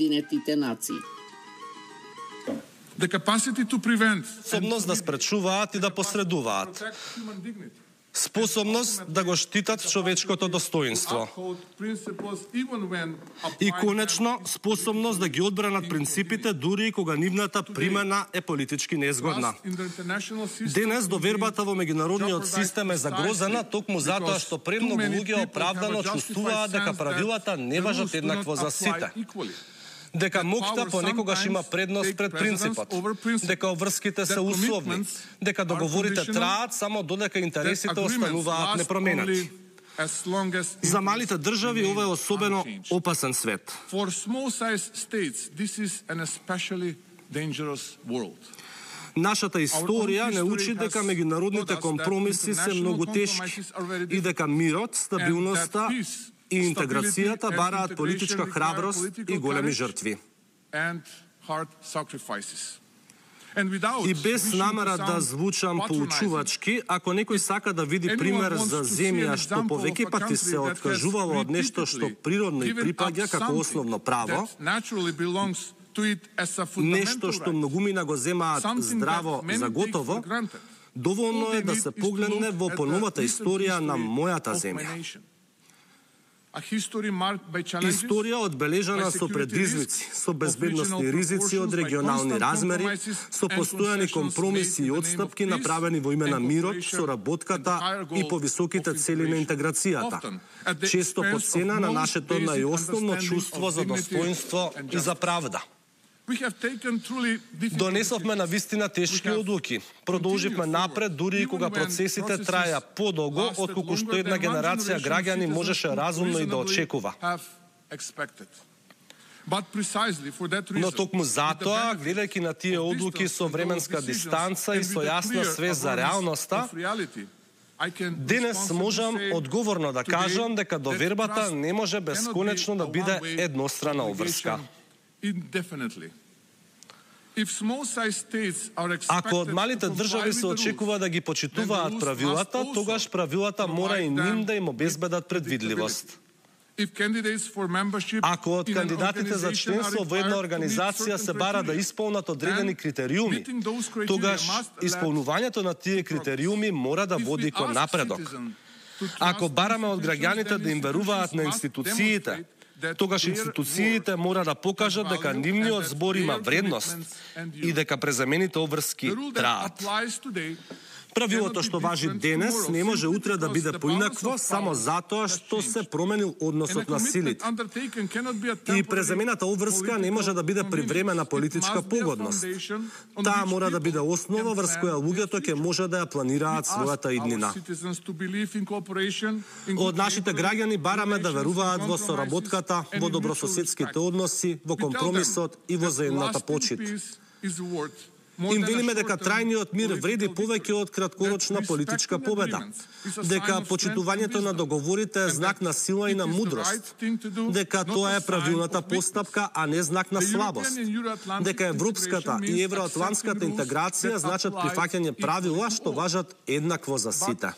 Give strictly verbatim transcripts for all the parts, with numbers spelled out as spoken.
Обединетите нации. Способност да спречуваат и да посредуваат. Способност да го штитат човечкото достоинство. И конечно, способност да ги одбранат принципите дури и кога нивната примена е политички незгодна. Денес довербата во меѓународниот систем е загрозена токму затоа што премногу луѓе оправдано чувствуваат дека правилата не важат еднакво за сите. Дека моќта понекогаш има предност пред принципот, дека обврските се условни, дека договорите траат само додека интересите остануваат непроменети. За малите држави ова е особено опасен свет. Нашата историја не учи дека меѓународните компромиси се многу тешки и дека мирот, стабилноста и интеграцијата бараат политичка храброст и големи жртви. И без намера да звучам поучувачки, ако некој сака да види пример за земја што повеќе пати се откажувало од нешто што природно и припаѓа како основно право, нешто што многумина го земаат здраво за готово, доволно е да се погледне во поновата историја на мојата земја. Историја одбележана со предизвици, со безбедносни ризици од регионални размери, со постојани компромиси и отстапки направени во име на мирот, соработката и повисоките цели на интеграцијата, често по цена на нашето најосновно чувство за достоинство и за правда. Донесовме на вистина тешки одлуки. Продолживме напред дури и кога процесите траја подолго отколку што една генерација граѓани можеше разумно и да очекува. Но токму затоа, гледајќи на тие одлуки со временска дистанца и со јасна свест за реалноста, денес можам одговорно да кажам дека довербата не може бесконечно да биде еднострана обврска. Ако од малите држави се очекува да ги почитуваат правилата, тогаш правилата мора и ним да им обезбедат предвидливост. Ако од кандидатите за членство во една организација се бара да исполнат одредени критериуми, тогаш исполнувањето на тие критериуми мора да води кон напредок. Ако бараме од граѓаните да им веруваат на институциите, тогаш институциите мора да покажат дека нивниот збор има вредност и дека презамените обврски траат. Правилото што важи денес не може утре да биде поинакво само затоа што се променил односот на силите. И презамената обврска не може да биде привремена политичка погодност. Таа мора да биде основа врз која луѓето ќе може да ја планираат својата иднина. Од нашите граѓани бараме да веруваат во соработката, во добрососедските односи, во компромисот и во заедната почит. Им велиме дека трајниот мир вреди повеќе од краткорочна политичка победа, дека почитувањето на договорите е знак на сила и на мудрост, дека тоа е правилната постапка, а не знак на слабост, дека европската и евроатлантската интеграција значат прифаќање правила што важат еднакво за сите.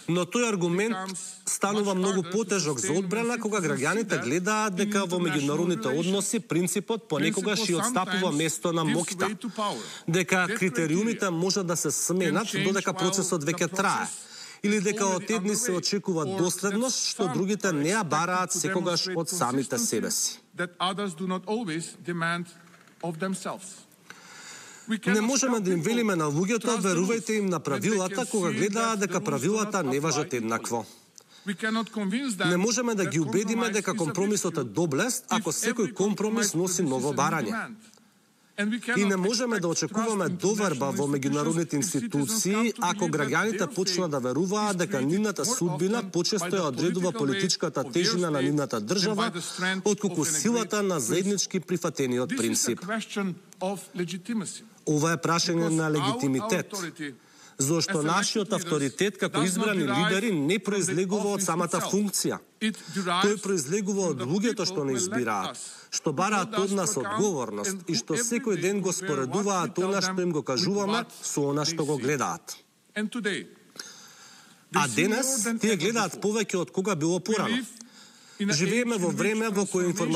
Но тој аргумент станува многу потежок за одбрана кога граѓаните гледаат дека во меѓународните односи принципот понекогаш и отстапува место на моќта, дека критериумите може да се сменат додека процесот веќе трае, или дека од едни се очекува доследност што другите не ја бараат секогаш од самите себе си. Не можеме да им велиме на луѓето, верувајте им на правилата кога гледаат дека правилата не важат еднакво. Не можеме да ги убедиме дека компромисот е доблест ако секој компромис носи ново барање. И не можеме да очекуваме доверба во меѓународните институции ако граѓаните почнат да веруваат дека нивната судбина почесто ја одредува политичката тежина на нивната држава отколку силата на заеднички прифатениот принцип. Ова е прашање на легитимитет, зашто нашиот авторитет како избрани лидери не произлегува од самата функција. Тој произлегува од луѓето што не избираат, што бараат од нас одговорност и што секој ден го споредуваат она што им го кажуваме со она што го гледаат. А денес тие гледаат повеќе од кога било порано. Живееме во време во кое